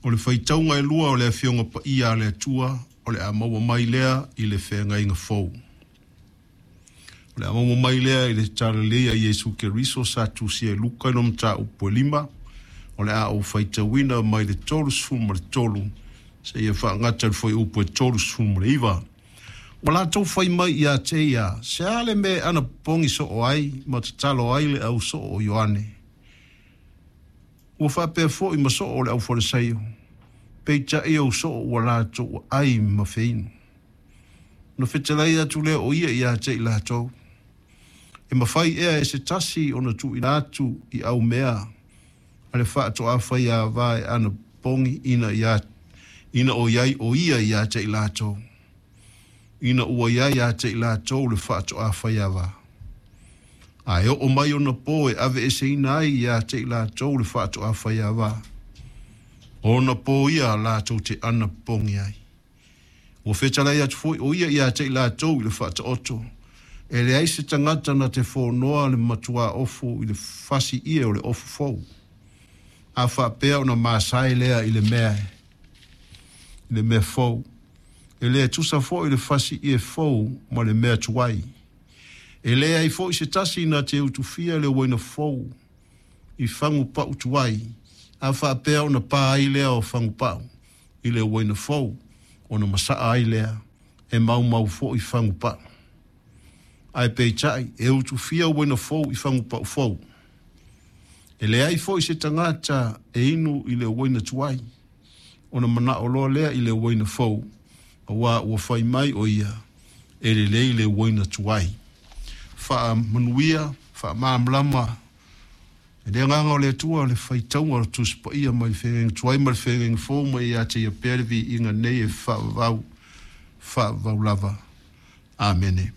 O le faitauga e lua o le Afioga Paia a le Atua, o le a maua mai lea i le Feagaiga Fou. O le a maua mai lea i le Talalelei a Iesu Keriso sa tusia e Luka i lona mataupu e 5, o le a ou faitauina mai le 33 seia faagata i le fuaiupu e 39. Ua latou fai mai ia te ia, Se a le mea e anapopogi soo ai ma tatalo ai le au soo o Ioane? Ua faapea foi ma soo o le aufalesaio, peitai ou soo ua latou aai ma feinu. Ona fetalai atu lea o ia ia te i latou, E mafai ea e se tasi ona tuuina atu i aumea a le faatoa faiava e anapopogi ina ia ina o i ai o ia ia te i latou, ina ua i ai ia te i latou le faatoa faiava? A e oo mai ona pō e aveeseina ai ia te i latou le faatoa faiava, o ona pō ia latou te anapopogi ai. Ua fetalai atu foi o ia ia te i latou i le faataoto, e leai se tagata na te fonoa le matuā ofu i le fasi ie o le ofu fou, a faapea ona masae lea i le mea i le mea fou. E le tusa foi le fasi ie fou ma le mea tuai. E leai foi se tasi na te utufia le uaina fou i fagu pau tuai, a faapea ona pa ai lea o fagu pau i le uaina fou, ona masaa ai lea, e maumau foi fagu pau. Ae peitai, e utufia uaina fou i fagu pau fou. E leai foi se tagata e inu i le uaina tuai, ona manao loa lea i le uaina fou, auā ua fai mai o ia, E lelei le uaina tuai. Faamanuia, faamalamalama e le Agaga o le Atua le faitauga o le Tusi Paia mai le Feagaiga Tuai ma le Feagaiga Fou ma ia te ia pea le viiga nei e faavavau, faavavau lava. Amene.